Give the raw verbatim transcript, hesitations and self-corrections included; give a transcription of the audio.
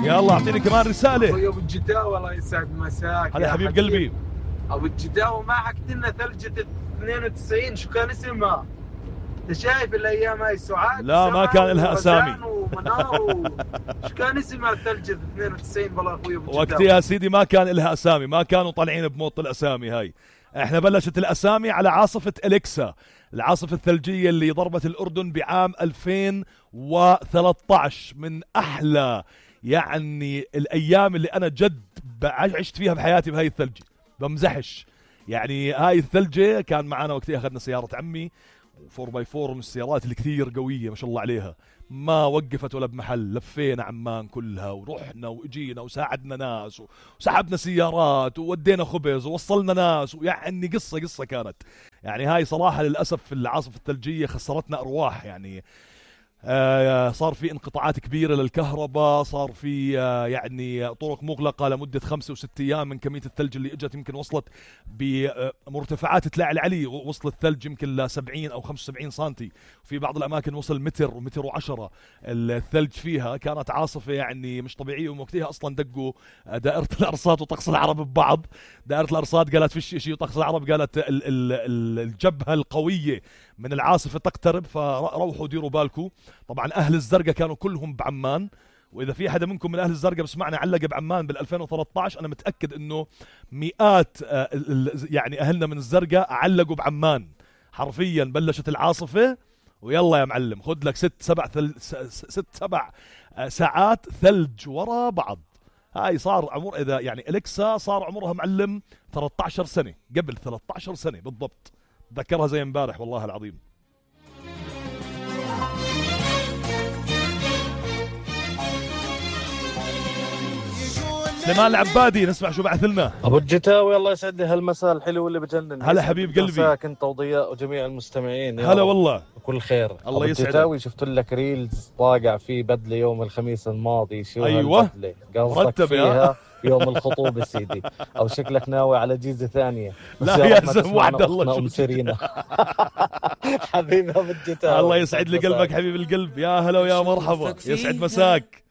يلا اعطيني كمان رسالة. اخوي ابو الجداوي الله يسعد مساك. هلا حبيب قلبي. ابو الجداوي ما حكت لنا ثلجة اثنين وتسعين شو كان اسمها؟ انت شايف الايام هاي سعاد؟ لا ما كان لها اسامي. شو كان اسمها ثلجة اثنين وتسعين والله اخوي ابو الجداوي؟ وقتها يا سيدي ما كان لها اسامي، ما كانوا طالعين بموط الاسامي هاي. احنا بلشت الاسامي على عاصفة اليكسا، العاصفة الثلجية اللي ضربت الاردن بعام ألفين وثلاثة عشر. من احلى يعني الايام اللي انا جد عشت فيها بحياتي بهاي الثلجة، بمزحش. يعني هاي الثلجة كان معنا وقتها اخذنا سيارة عمي وفور باي فور من السيارات الكثير قوية ما شاء الله عليها، ما وقفت ولا بمحل. لفينا عمان كلها ورحنا واجينا وساعدنا ناس وسحبنا سيارات وودينا خبز ووصلنا ناس، ويعني قصة قصة كانت. يعني هاي صراحة للأسف في العاصفة الثلجية خسرتنا أرواح. يعني آه صار في انقطاعات كبيرة للكهرباء، صار في آه يعني طرق مغلقة لمدة خمسة وست أيام من كمية الثلج اللي اجت. يمكن وصلت بمرتفعات تلاعي العلي، وصل الثلج يمكن ل سبعين أو خمسة وسبعين سنتي، وفي بعض الأماكن وصل متر ومتر وعشرة الثلج فيها. كانت عاصفة يعني مش طبيعية. ووقتها أصلا دقوا دائرة الأرصاد وطقس العرب ببعض. دائرة الأرصاد قالت فيش شيء، وطقس العرب قالت ال ال الجبهة القوية من العاصفة تقترب، فروحوا ديروا بالكم. طبعا أهل الزرقاء كانوا كلهم بعمان، وإذا في حدا منكم من أهل الزرقاء بسمعنا علق بعمان بال ألفين وثلاثة عشر، أنا متأكد إنه مئات يعني أهلنا من الزرقاء علقوا بعمان. حرفيا بلشت العاصفة ويلا يا معلم خد لك ست سبع ثل... ست سبع ساعات ثلج ورا بعض. هاي صار عمر إذا يعني إليكسا صار عمرها معلم ثلاثة عشر سنة، قبل ثلاثة عشر سنة بالضبط. ذكرها زي امبارح والله العظيم. سليمان العبادي نسمع شو بعث لنا. ابو الجتاوي الله يسعد لي هالمساء الحلو اللي بجنن. هلا حبيب قلبي. مساك انت وضياء وجميع المستمعين. هلا والله كل خير. الله يسعدك. ابو الجتاوي شفت لك ريلز واقع في بدله يوم الخميس الماضي. شو ايوه قصدك فيها؟ يوم الخطوبة سيدي، او شكلك ناوي على جيزة ثانية. لا يا زلمة وعد الله ام سيرينا. حبيبي ابو الجتاوي الله يسعد لي قلبك حبيب القلب. يا هلا ويا مرحبا، يسعد مساك.